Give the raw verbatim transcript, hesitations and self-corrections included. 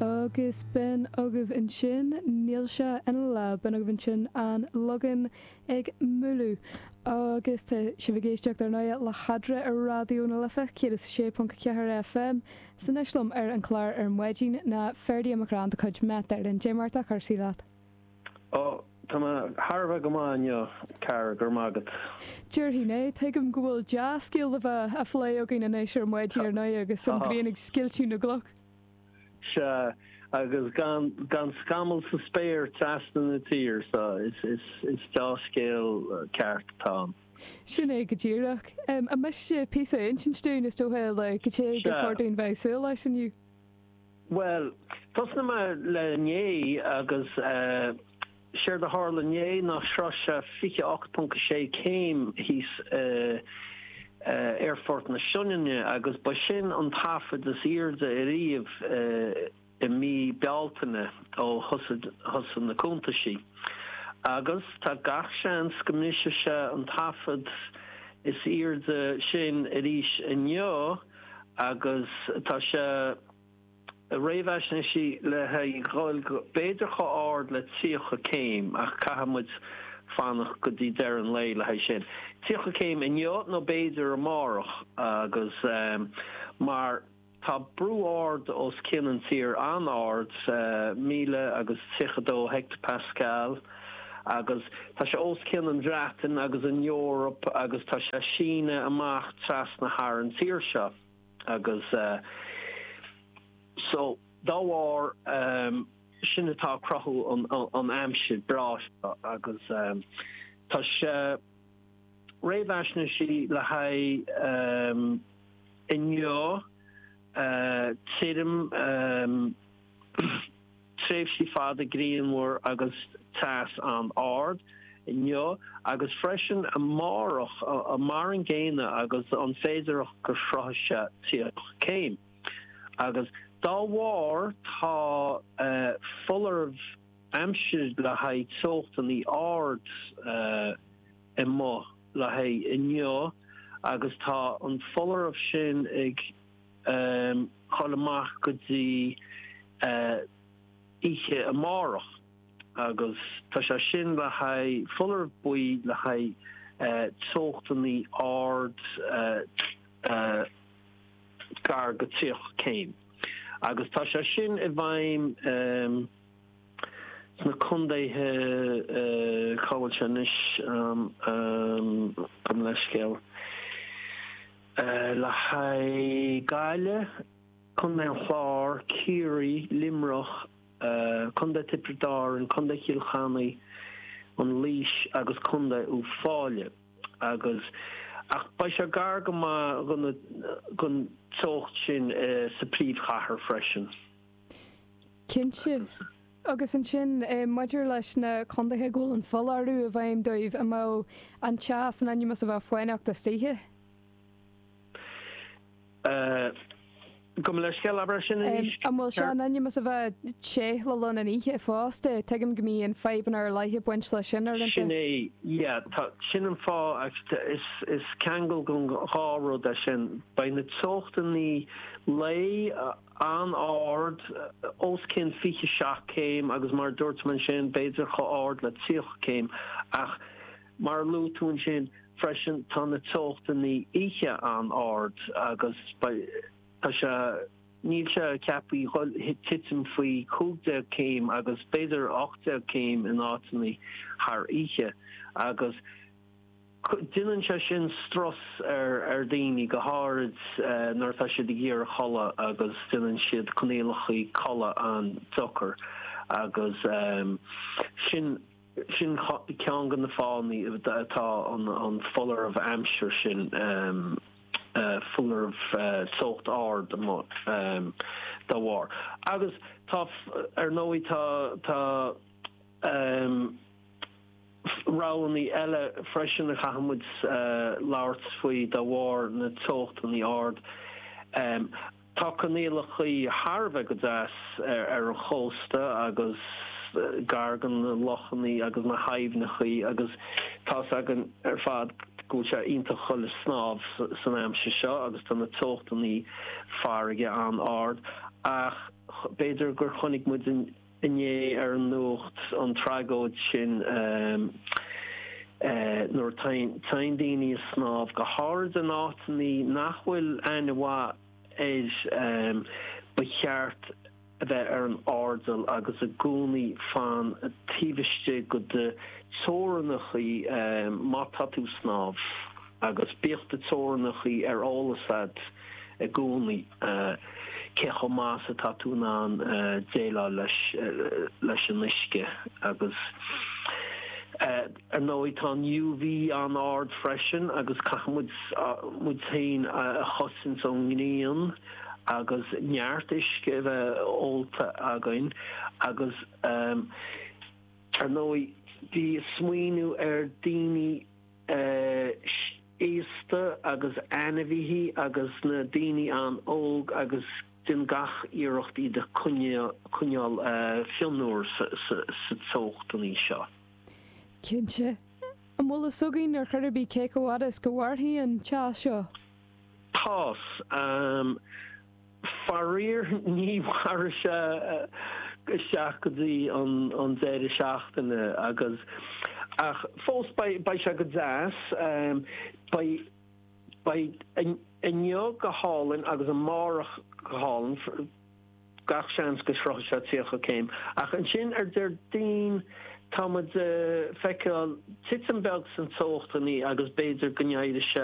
Agus b'in agaibh ansin níl sé ina lá b'in agaibh ansin an Lagán ag Múlú. Agus tá sibh ag éisteacht ar ndóigh le hEadra ar Raidió na Life céad is a sé ponc a ceathair FM san liom ar an chlár ar maidin ná Ferdia McCrann de chuid Met Éireann Cad é mar atá cúrsaí leat. Ó Tá thar go maith car gur mágad. Déarfainn é tuigim go bhfuil dea-scéal le bheith á phlé againn anois ar maidin ar ndóigh agus an ghrian ag scoilteadh na gcloch. Se agus gan gan scamall sa spéir trasna na tíre so is is is dea-scéal ceart atá. Sin é go díreach. Um, an miste píosa a insint dúinn is dócha le go té gur chóir dúinn bheith súil leis inniu. Well, tosnóidh mé le inné agus uh, séard a tharla inné ná shroich sé fiche ocht ponc sé céim thíos uh, uh, Aerfort na Sionainne agus ba sin an taifead is airde ariamh uh, i mí Bealtaine ó thosaigh na cuntaisí. Agus tá gach seans go mbrisfidh sé an taifead is airde sin arís inniu agus tá sé réamhaisnéisithe le haghaidh b'fhéidir chomh ard le tríocha céim ach caithfidh muid fanacht go dtí deireadh an lae le haghaidh sin. Tríocha céim inniu nó b'fhéidir amárach agus um, mar tá brú ard os cionn an tír an-ard uh, míle agus tríocha dó hectopascal agus tá sé os cionn an Bhreatain agus an Eoraip agus tá sé síneadh amach trasna thar an tír seo agus uh, so dá bharr um, sin atá cruthú an, an, an aimsir breá agus um, tá sé réamhaisnéisithe le haghaidh um, inniu uh, tirim um, tréimhsí fada grianmhar agus teas an-ard inniu agus freisin amárach mar an gcéanna agus an féidir go sroichfidh sé tríocha céim. Agus dá bharr tá uh, foláireamh aimsir le haghaidh teochtanna ard uh, amuigh le haghaidh inniu agus tá an foláireamh sin ag um, dul amach go dtí uh, oíche amárach agus tá sé sin le haghaidh foláireamh buí le haghaidh uh, teochtanna ard uh, uh, gar go tríocha céim. Agus tá sé sin i bhfeidhm um, sna contaetha uh, cá bhfuil sé anois um, um, gabh mo leithscéal. Uh, le haghaidh Gaillimh, Contae an Chláir, Ciarraí, Luimneach, uh, Contae Tiobraid Árann, Contae Chill Chainnigh, an Laois agus Contae Uíbh Fhailí. Agus ach beidh sé gar go maith don teocht sin uh, sa príomhchathair freisin. Cinnte. Agus ansin eh, maidir leis na contaetha go bhfuil an foláireamh i bhfeidhm dóibh an mbeidh an teas in ainm is a bheith fáinneach istoíche. Uh, Gabh mo leithscéal abair sin An bhfuil sé in ainm is a bheith te le linn an oíche fosta, tuigim go mbíonn fadhbanna ar leith ag baint leis sin ar Sin é yeah, tá sin an fáth is is ceangal den dhá rud é sin beidh na teochtanna lae an-ard os cionn fiche seacht céim agus mar dúirt mé sin b'fhéidir chomh ard le tríocha céim ach mar luaigh tú ansin freisin tá na teochtanna oíche an-ard agus tá sé níl sé ceaptha titim faoi cúig déag céim agus b'fhéidir ocht déag céim in áiteanna thar oíche agus déanann sé sin strus ar ar daoine go háirid uh, nuair atá siad ag iarraidh codladh agus déanann siad coinníollacha codladh an-deacair agus um, sin sin ceann de na fáthanna atá an an foláireamh aimsir sin um, uh, foláireamh uh, teocht ard um, dá bharr. Agus tá ar ndóigh tá tá um, roghanna eile freisin a chaithfidh muid uh, labhairt faoi dá bharr na teochtanna ard. Um, tá coinníollacha thar a bheith go deas ar, ar an chósta agus gar do na lochanna agus na haibhneacha agus tá againn ar fad go sé iontach chun snámh san aimsir seo agus tá na teochtanna farraige an-ard ach B'fhéidir gur chonaic muid inné ar an nuacht an tragóid sin nuair téann daoine ag snámh, go háirid in áiteanna nach bhfuil aithne mhaith air. Ba cheart a bheith ar an airdeall agus i gcónaí fan taobh istigh go do teorainneacha má tá tú ag snámh agus bíodh do teorainneacha ar eolas agat i gcónaí cé chomh maith is atá tú in ann déileáil leis leis an uisce. Agus ar ndóigh tá an U V an-ard freisin agus caithfidh muid muid féin a chosaint ón ngrian agus neart uisce a bheith ólta againn. Agus ar ndóigh bí ag smaoineamh ar daoine aosta agus ainmhithe agus na daoine an-óg agus déan gach iarracht iad a choinneáil fionnuar sa teochtanna seo. Cinnte. An bhfuil fhios againn ar chor ar bith cé chomh fada is go mhairfidh an teas seo? Tá. Faraor ní mhairfidh sé isteach go dtí an deireadh seachtaine agus ach fós beidh sé go deas. Beidh beidh inniu go hálainn agus amárach go hálainn, gach seans go sroichfidh sé tríocha céim. Ach ansin ar Déardaoin tá muid ag feiceáil titim beag san teochtanna agus b'fhéidir go n-éireoidh sé